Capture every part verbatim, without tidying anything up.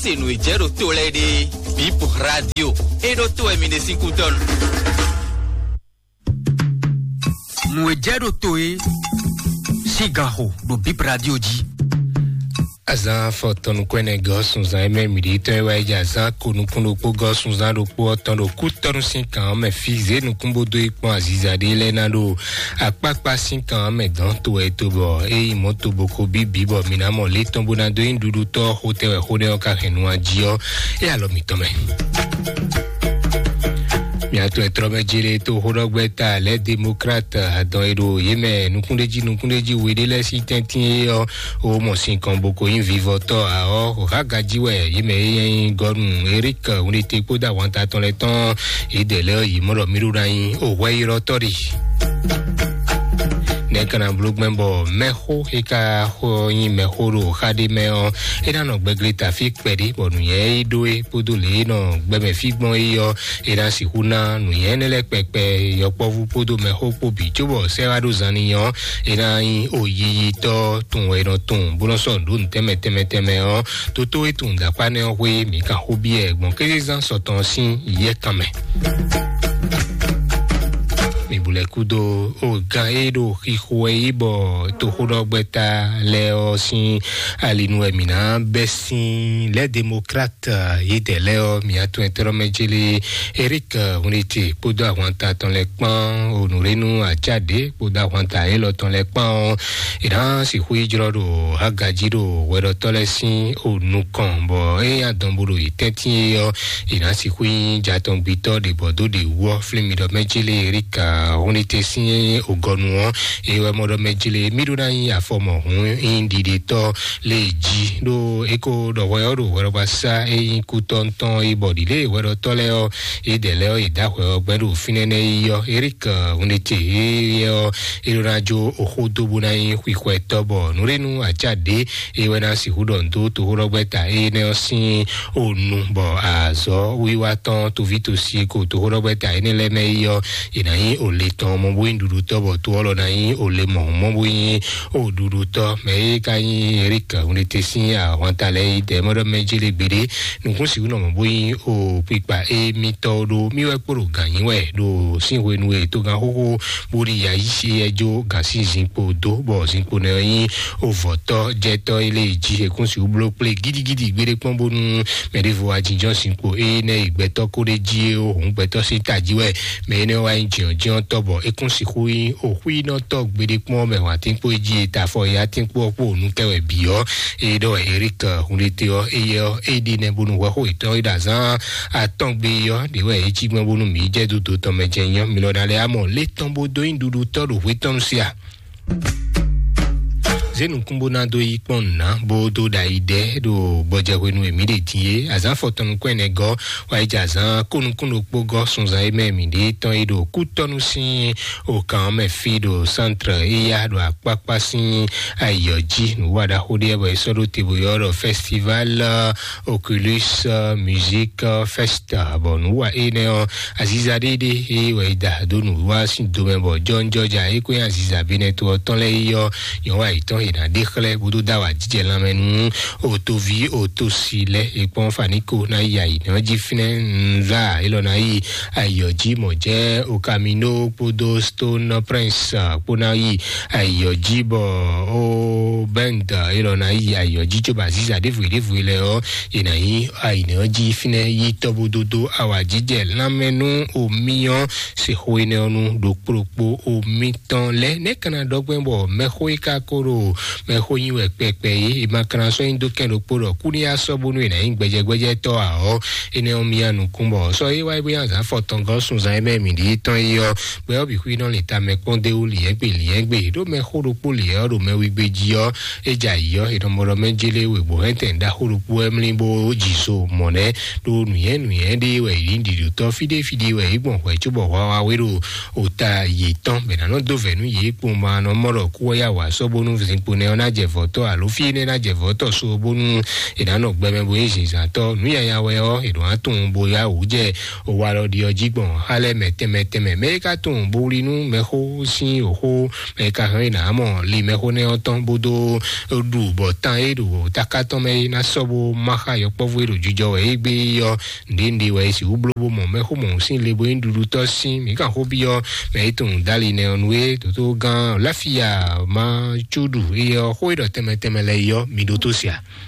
E nǔ e jɛ ɖo to lɛ́ɛ ɖe, Bip Radio. E ɖo to wɛ mi ɖe sín kútɔ́nu. Nǔ e jɛ ɖo to e sín ganxo ɖo Bip Radio jí. Azán fɔtɔnukɔ́ ɛnɛ gɔ́ sunzan e mɛ mǐ ɖe tɔn e wá yi jɛ azán ko nukún ɖokpó gɔ́ sunzan ɖokpó ɔ́ tɔn ɖo kútɔ́nu sín kan ɔ́ mɛ fí zě nukún bó dó yi kpɔ́n aziza ɖé lɛ́ɛ ná ɖo akpákpá sín kan ɔ́ mɛ dɔn to wɛ to bɔ é yi mɔ̌ to bo ko bíbí bɔ mǐ ná mɔ lě tɔn bó ná dó nyí ɖuɖutɔ́ xotɛ́ wɛ xó nɛ́ ɔ́ ka hɛn nu jí ɔ́, é alɔ mǐtɔn mɛ. Mia to ɛtrɔ mɛ jele to xóɖɔgbɛ ta lɛ démocrate adɔn e ɖo yé mɛ nukúnɖéjí nukúnɖéjí we ɖé lɛ́ɛ sín tɛ́ntin é ɔ́, o mɔ sin kɔn bó ko nyí vivɔtɔ́ a ɔ́, xɔxágají wɛ yé mɛ é nyí gɔnu Eric Wunete kpódó ahwanta tɔn lɛ́ɛ tɔn. Yě dɛ lɛ́ ɔ́ yě mɔ ɖɔ mí ɖó ná nyí o hwɛylɔ́tɔ́ ɖe. Nɛ̌ ka ná bló gbɛn bɔ mɛxó e ka xɔ nyí mɛxó ɖo xa ɖé mɛ ɔ́, é ná nɔ gbɛglé tafí kpɛɖé bɔ nǔnyɛ e ɖó é kpódó lě e nɔ gbɛmɛ fí gbɔn é ɔ́, é ná sixú ná nǔnyɛ énɛ́ lɛ́ɛ kpɛkpɛ yɔkpɔ́vú kpódó mɛxó kpó bǐ cóbɔ sɛ́ wá ɖó zan n'i ɔ́, é ná nyí oyiyitɔ́ tunwun wɛ è nɔ tunwun bó nɔ́ sɔ́ nǔ ɖó nǔ tɛnmɛ tɛnmɛ tɛnmɛ ɔ́. Tótó e tunwun dǎkpá nɛ́ ɔ́ xwé mǐ kan xó byɔ́ ɛ gbɔn kézezán sɔtɔn sín yɛ́ kan mɛ. Mi bu lɛ́ kúdó o gán e ɖo xixo wɛ yí bɔ toxóɖɔgbɛ́ta lɛ́ɛ ɔ́ sín ali nu wɛ mǐ ná bɛ́ sín lɛ́ démocrate yédɛɛ lɛ́ɛ ɔ́, mǐ atún ɛtɛ́rɔ́mɛ célé Eric Hunete kpódó ahwanta tɔn lɛ́ɛ kpán, Onurenu Acade kpódó ahwanta élɔ́ tɔn lɛ́ɛ kpán ɔ́, è nǎ sixú yi jlɔ́ ɖo agají ɖo hwɛɖɔtɔ́ lɛ́ɛ sín o nukɔn, bɔ ényí adɔn bo ɖo yě tɛ́ntin é ɔ́, è nǎ sixú nyí jatɔngbitɔ́ ɖě bɔ dó ɖě wú ɔ́, flín mi ɖɔ mɛ jí lé Erika Hunete sín ogɔnu ɔ́, é wɛ mɔ ɖɔ mɛ jí lé mí ɖó ná nyí afɔmɔhún nyí ɖiɖetɔ́ lé jí, ɖó é ko ɖɔ hwɛ ɔ́ ɖo hwɛɖɔgbasá é nyí kútɔ́ ŋutɔn é bɔ ɖi lé hwɛɖɔtɔ́ lɛ́ɛ ɔ́, é ɖɛ lɛ́ɛ ɔ́, è dǎ hwɛ ɔ́ gbɛ́ ɖo fínɛ́ nɛ́ yi ɔ́, Erika Hunete é ɔ́, é ɖó ná jó oxó dó bó ná nyí xwixwɛtɔ́, bɔ nǔɖénú acá ɖě é wɛ ná sixú ɖɔ nǔ dó toxóɖɔgbɛ́ta énɛ́ ɔ́ sín onu, bɔ azɔ̌ wiwa tɔn toví tosi e ko toxóɖɔgbɛ́ta énɛ́ lɛ́ɛ mɛ é ɔ́, è nǎ nyí o le tɔn mɔ bó nyí ɖuɖutɔ́, bɔ to ɔ́ lɔ ná nyí o le mɔ̌hun mɔ bó nyí o ɖuɖutɔ́. Mɛ e ka nyí Erika Hunete sín ahwanta lɛ́ɛ yi dɛ mɔ ɖɔ mɛ jélé gbeɖé nukún sixú nɔ mɔ bó nyí o kpikpa émítɔ́ ɖó mì wɛ kpó ɖo gǎn nyí wɛ ɖo sín hwenu e togán xóxó bó ɖi ya yí sí yɛ jó gǎn sín zinkpo dó, bɔ zinkpo nɛ ɔ́ nyí ovɔ̌tɔ́ jɛtɔ́ é lé jí ekún sixú bló kplé gidigidi gbeɖé kpɔ́n bónú mɛ ɖěvo wá jínjɔ́n zinkpo énɛ́ e gbɛtɔ́ kó ɖ'é jí é ó hǔn gbɛtɔ́ sín tají wɛ mɛ énɛ́ wá nyí jǐɔ́jínɔ́tɔ́, bɔ é kún sixú nyí oxwínɔtɔ́ gbeɖé kpɔ́n mɛ wǎntínkpó e jí e ta afɔ yátínkpó ɔ́ kpó nǔ kɛ wɛ bǐ ɔ́. É ɖɔ Erika Hunete ɔ́, éyɛ́ ɔ́, é ɖi nɛ́ bónú hwɛxó yětɔn e ɖo azán atɔ́n gbe é ɔ́, ɖě wɛ é cí gbɔn bónú mǐ jɛ dó dotɔn mɛ jɛ nyɔ́. Mi lɔ ná lɛ́ amɔ lě tɔn bó dó nyí ɖuɖutɔ́ ɖo hwetɔ́nu sí a? Zé nukún bó ná dó yí kpɔ́n nǔ ná bó dó ɖo ayi ɖɛ ɖo gbɔjɛhwenu e mǐ ɖe din é. Azǎn afɔtɔn nukún ɛnɛ gɔ́ wá yi jɛ azǎn kónukún ɖokpó gɔ́ sunzan e mɛ mǐ ɖe tɔn é ɖo kútɔ́nu sín okǎn mɛ fí ɖo sántre éyá ɖo akpákpá sín ayǐ ɔ́ jí. Nǔ wa ɖaxó ɖé wɛ bɔ è sɔ́ ɖó te bó ylɔ́ ɖɔ festival Oculus Music Fest, bɔ nǔ wa énɛ́ ɔ́, aziza ɖé ɖé é wɛ è da dó nǔwiwa sín domɛ, bɔ jɔnjɔja é kó nyí aziza Benɛto ɔ́ tɔn lɛ́ɛ yi ɔ́, nyɔ̌ wa yětɔn è nǎ ɖe xlɛ́ bó dó dó awǎjijɛ lanmɛ nú otoví otosi lɛ́ɛ. È kpɔ́n Faniko ná yi ayǐ nɔ́ jí fínɛ́ nzá élɔ́ ná yi ayǐ ɔ́ jí mɔ̌ jẹ́ Okamino kpódó Stone Prince kpó ná yi ayǐ ɔ́ jí, bɔ ó Bend élɔ́ ná yi ayǐ ɔ́ jí cóbɔ aziza ɖěvo ɖěvo lɛ́ɛ ɔ́, è nǎ nyí ayǐ nɔ́ jí fínɛ́ yi tɔ́ bó dó dó awǎjijɛ lanmɛ nú omí ɔ́. Se xó énɛ́ ɔ́ nú ɖokpó ɖokpó omítɔn lɛ́ɛ. Nɛ̌ ka ná ɖɔ gbɛn bɔ mɛxó e ka ko ɖo mɛxó nyi wɛ kpɛkpɛ é, è ma ka ná sɔ́ nyi dó kɛn ɖokpó ɖɔ kú ní asɔ́ bónú è nǎ nyí gbɛjɛgbɛjɛtɔ́ ǎ ɔ́, énɛ́ ɔ́ myá nukún bɔ sɔ́ é wá é bó nyí azǎn afɔtɔn gɔ́ sunzan é mɛ mǐ ɖi tɔn é ɔ́, gbɛ ɔ́ bǐ xwí nɔ lǐn tamɛ kpɔ́n dó wú lǐnyɛ́gbe lǐnyɛ́gbe ɖó mɛxó ɖokpó lǐnyɛ́ ɔ́ ɖo mɛ wígbé jí ɔ́, é jɛ ayǐ ɔ́, è nɔ mɔ ɖɔ mɛ jélé wěgbó hɛntɛn ɖaxó ɖokpó wɛ mlí bó jǐ so mɔ̌ nɛ́. Ɖó nǔnyɛ nǔnyɛ ɖé wɛ yě nyí ɖiɖotɔ́, fí ɖé fí ɖé wɛ yě gbɔn hwɛ̌ cóbɔ hwawa wé ɖo ota yětɔn, bɔ è nǎ nɔ dó vɛ̌ nú yě kpowun bɔ a nɔ mɔ ɖɔ kú ɔ́ yá wǎ sɔ́ bónú Kpo nɛ ɔ́ ná jɛ vɔ̌tɔ́ alo fí énɛ́ ná jɛ vɔ̌tɔ́ so bónú è nǎ nɔ gbɛ mɛ bo nyí zǐnzǎntɔ́. Nǔ nyanya wɛ ɔ́, è nɔ wá tunwun bo yá wǔ jɛ owa lɔ ɖi ɔ́ jí gbɔn xá lɛ́ɛ mɛ tɛnmɛ tɛnmɛ. Mɛ e ka tunwun bo wlí nú mɛxó sín wǒxó, mɛ e ka hɛn é nǎ mɔ li mɛxó nɛ́ ɔ́ tɔn bó dó ɖu bɔ tan e ɖo taká tɔn mɛ é ná sɔ́ bó má xá yɔkpɔ́vú e ɖo jijɔ wɛ é gbé é ɔ́. Nǔɖé nǔɖé wɛ é sixú bló bó mɔ mɛxó mɔ̌hun sín le bó nyí ɖuɖutɔ́ sín. Mǐ kan xó byɔ́ mɛ e tunwun dali nɛ ɔ́ nú é, dǒtó gán Láfiya má cúɖu é ɔ́, xó e ɖɔ tɛnmɛ tɛnmɛ lɛ́ɛ é ɔ́, mi ɖótó se a?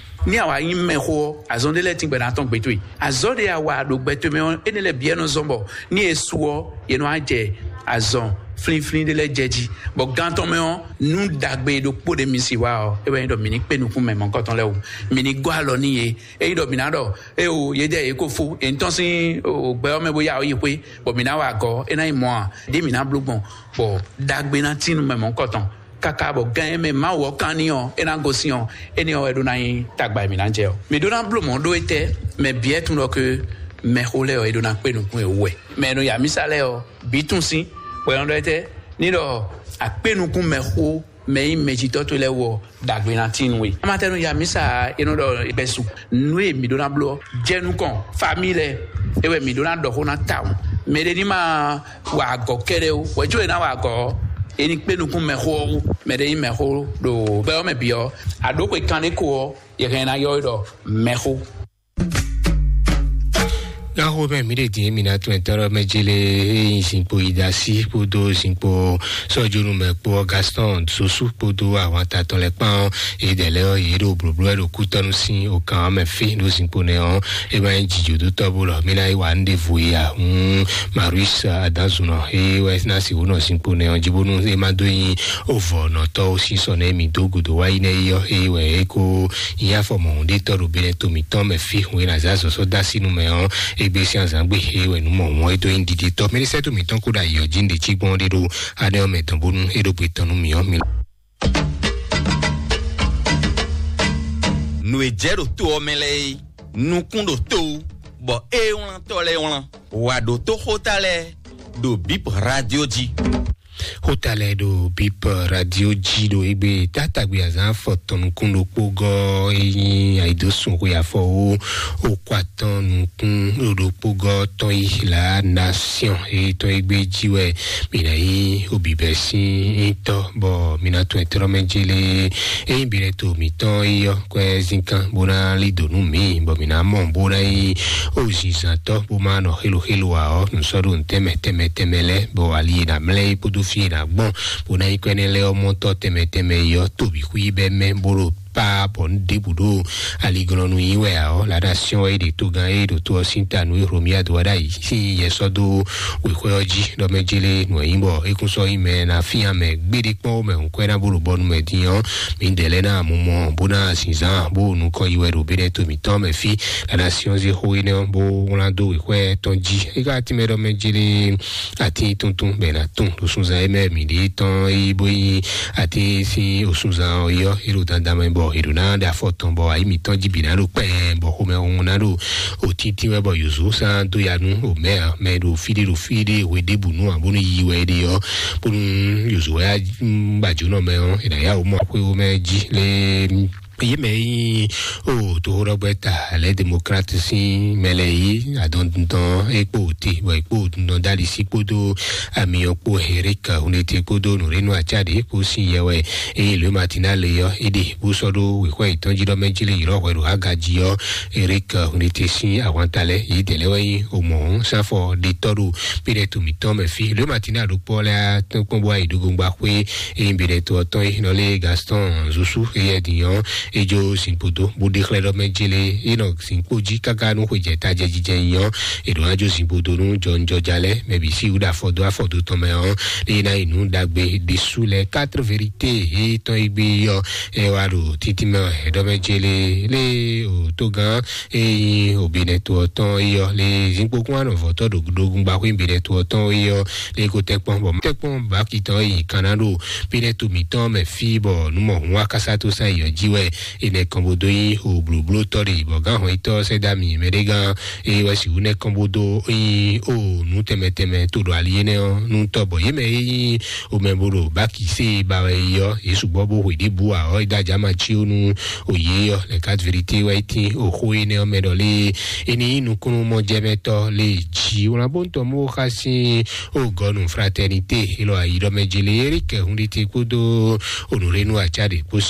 Ní àwa nyí mɛxó ɔ́, azɔn ɖé lɛ́ɛ tíngbɛ ná tɔn gbé towe. Azɔn ɖé a wa ɖo gbɛ towe mɛ ɔ́, énɛ́ lɛ́ɛ bǐ wɛ nɔ zɔ́n bɔ ní è su ɔ́, yě nɔ wá jɛ azɔn flínflín ɖé lɛ́ɛ jɛ jí. Bɔ gán tɔn mɛ ɔ́, nú ɖagbe ɖokpó ɖé mi si wa ɔ́, é wɛ nyí ɖɔ mǐ ní kpé nukún mɛ mɔ̌kɔtɔn lɛ́ɛ wú, mǐ ní gɔ́ alɔ n'i yě. Ényí ɖɔ mǐ ná ɖɔ éwo yě jɛ yě ko fó, è nǐ tɔ́n sín gbɛ ɔ́ mɛ bó yá ɔ́ yi xwé, bɔ mǐ ná wa agɔ̌, é ná nyí mɔ̌ ǎ, ɖěe mǐ ná bló gbɔn, bɔ ɖagbe ná tín nú mɛ mɔ̌kɔtɔn. Káká bɔ gán e mɛ Mawu ɔ́ kán n'i ɔ́, é ná gosín ɔ́, énɛ́ ɔ́ wɛ ɖó ná nyí tagba e mǐ ná jɛ ɔ́. Mǐ ɖó ná bló mɔ̌ ɖó étɛ́? Mɛ bǐ wɛ tunwun ɖɔ ké mɛxó lɛ́ɛ ɔ́, è ɖó ná kpé nukún e wú wɛ. Mɛ e nɔ ya mǐ sa lɛ́ɛ ɔ́, bǐ tunwun sín, bɔ è nɔ ɖɔ étɛ́? Ní ɖɔ akpé nukún mɛxó mɛ e nyí mɛjitɔ́ towe lɛ́ɛ wú ɔ́, ɖagbe ná tín nú we. Amatɛnu ya mǐ sa e nɔ ɖɔ gbɛsu. Nǔ e mǐ ɖó ná bló ɔ́, jɛ nukɔn famíi lɛ́ɛ, é wɛ mǐ ɖó ná ɖɔ xó ná tawun. Mɛɖé ní ma wa agɔ̌ kɛ́ɖɛ́ ó, hwɛ̌ có è nǎ wa agɔ̌ ɔ́, è ní kpé nukún mɛxó ɔ́ wú. Mɛɖé nyí mɛxó ɖo gbɛ ɔ́ mɛ bǐ ɔ́, a ɖǒ xwe kanɖé ko ɔ́, yɛ hɛn ná ylɔ́ we ɖɔ mɛxó. Gaxo mɛ mǐ ɖe din mi ná tún ɛtɔ́ ɖɔ mɛ jele e nyi zinkpo yi da sí kpódó zinkpo sɔjonu mɛ kpó Gaston Sosu kpódó àwọn tatɔn lɛ kpán ɔ́, yě dɛ lɛ ɔ́, yě ɖo blǒbló wɛ ɖo kútɔ́nú sín okan ɔ́ mɛ fí ɖo zinkpo nɛ ɔ́. E ma nyí jǐjǒdótɔ́ bó lɔ mí ná yi wa nú ɖěvo yi a? Hun Marius Adanzunɔ e wɛ ná si wǒ nɔ zinkpo nɛ ɔ́ jí bónú e ma dó nyi ovɔ̌nɔtɔ́ ó sín sɔ nɛ mi dó gǔdo wá yi nɛ yi ɔ́, e wɛ é kó nyí afɔ mɔ̌hunɖétɔ́ ɖo Benɛto mǐtɔn mɛ fí hun e ná zé azɔ̌ sɔ́ dó así nú mɛ ɔ́, égbé sín azǎn gbe e wɛ nǔ mɔ̌hun ɔ́ é dó nyí ɖiɖitɔ́. Mɛɖisɛ́ tó mǐtɔn kó ɖo ayǐ ɔ́ jí ɖě cí gbɔn ɖé ɖó aɖɛ ɔ́ mɛ dɔn bónú é ɖó gbe tɔn nú mǐ ɔ́, mi. Nǔ e jɛ ɖo to ɔ́ mɛ lɛ́ɛ é, nukún ɖo to wú, bɔ é wlántɔ́ lɛ́ɛ wlán. Wǎ ɖótó xóta lɛ́ɛ ɖo Bip Radio jí. Xóta lɛ́ɛ ɖo Bip Radio jí ɖo égbé tátagbe azǎn afɔtɔn nukún ɖokpó gɔ́ e nyí ayǐdósun xwe afɔ wú okú atɔn nukún ɖokpó gɔ́ tɔn yi la nation e tɔn égbé jí wɛ mi ná nyí obibɛ sín nyitɔ́, bɔ mi ná tún ɛtrɔ́ mɛ jélé. Ényí bi lɛ to mǐtɔn yi ɔ́, kwɛ zínkan bó ná lí dǒ nú mǐ, bɔ mǐ ná mɔ bó ná nyí ozinzantɔ́ bó má nɔ xéloxélo ǎ ɔ́, nǔ sɔ́ ɖo nǔ tɛnmɛ tɛnmɛ tɛnmɛ lɛ́ɛ, bɔ ali e ná mlɛ́ é kpódó fí e ná gbɔn bó ná nyí kwɛ́nɛ́ lɛ́ɛ ɔ́ mɔtɔ́ tɛnmɛ tɛnmɛ yi ɔ́, to bǐ xwí bɛ́ mɛ bó ɖo pa bɔ nǔ ɖěbǔ ɖo aliglɔ́nú yí wɛ ǎ ɔ́, la nation wɛ é ɖe togán e ɖo to ɔ́ sín ta nú Romiya dó wá ɖ'ayǐ sín yɛ sɔ́ dó wěxwɛ́ ɔ́ jí, ɖɔ mɛ jélé nǔ e nyí bɔ é kún sɔ́ nyí mɛ ná fían mɛ gbéɖé kpɔ́n mɛ hǔn kwɛ́ ná bó ɖo bɔnu mɛ din ɔ́, mǐdɛɛ lɛ́ɛ ná mɔ mɔ bó ná zinzán bó nukɔn yi wɛ ɖo bénɛ́ to mǐtɔn mɛ fí. La nation zé xó énɛ́ ɔ́ bó wlán dó wěxwɛ́ tɔn jí. É ka tínmɛ ɖɔ mɛ jélé atín tuntun bɛ ná tún ɖo sunzan e mɛ mǐ ɖe tɔn yi bó yi atín sín osunzan ɔ́ yi ɔ́, é ɖo dandan mɛ bɔ è ɖo ná ɖe afɔ tɔn bɔ ayi mǐtɔn jí bǐ ná ɖo kpɛɛ bɔ xomɛ ɔ́ ná ɖo òtítí wɛ bɔ yǒzo sán dó ya nú omɛ ǎ. Mɛ ɖo fí ɖé ɖo fí ɖé hwe ɖěbǔ nú ǎ bónú yi wɛ é ɖe ɔ́, bónú yǒzo wɛ á gbàjónɔ mɛ ɔ́, è nǎ yá wǒ mɔ xwé wó mɛ jí lé. Yě mɛ yi o toxoɖɔgbɛ ta lɛ démocrate sín mɛ lɛ yi adɔndundɔn ekpo te bɔ ekpo dundɔn dali sí kpódó amiyɔ kpó Eric Hunete kpódó nùrénu atsa ɖe kpó sín yɛ wɛ eye lóe Martina le yɔ eɖe bó sɔ́ ɖó wěxɔ yětɔn jí ɖɔ mɛ jí lé yi lɔ hwɛ ɖo aga jí yɔ Eric Hunete sín ahwanta lɛ yě dɛ lɛ wɛ yi o mɔ sáfɔ ɖetɔ ɖo péɖɛ to mǐtɔn mɛ fí lóe Martina ɖo kpɔ lɛ atɔn kpɔn bó ayi ɖo gongba xwé eye bǐɖɛ to ɔtɔn yi nɔ lé Gaston Zusu eye din yɔ edzo zinkpo dó bó ɖe xlɛ́ ɖɔ mɛ jí lé e nɔ zinkpo jí káká nú xwé jɛ ta jɛ jijɛ nyɔ e ɖo adzo zinkpo dó nú jɔnjɔja lɛ mɛ bǐ sí wúɖa afɔdó afɔdó tɔn mɛ ɔ́ eye ná yi nú ɖagbe ɖésú lɛ quatre vérité e tɔn yi gbé yɔ e wá ɖo títí mɛ ɛ ɖɔ mɛ jí lé lé o tó gán e nyí obinɛ to ɔtɔn yi yɔ lé zinkpo kún anɔ vɔtɔ ɖo ɖogun gbaxwé binɛ to ɔtɔn yi yɔ lé ko tɛkpɔn bɔ tɛkpɔn baki tɔn yi kan ná ɖo binɛ to mǐtɔn mɛ fí bɔ numɔ hun akásá tó sán yi yɔ jí wɛ Enɛ kɔn bó dó nyí o blǒblótɔ́ ɖe bɔ gán hɔn yítɔ́ sɛ́dá mi mɛɖégán eye wɛ sixú nɛ kɔn bó dó nyí o nǔ tɛnmɛ tɛnmɛ tó ɖo ali énɛ́ ɔ́ nú tɔ́ bɔ yě mɛ e nyí o mɛ bó ɖo bákisé ba wɛ yi ɔ́ yě sugbɔ́ bó hwe ɖěbǔ ǎ ɔ́ é dó ajá ma cí ó nú o yě ɔ́ lɛ kat vérité wɛ é tín o xó énɛ́ ɔ́ mɛ ɖɔ lé é ní nyí nukúnnú mɔjɛmɛtɔ́ lé jí wlán bó ń tɔ mú xá sín o gɔnu fraternité élɔ́ ayi ɖɔ mɛ jele erike hunɖite kpódó onùrénu acá ɖě kpó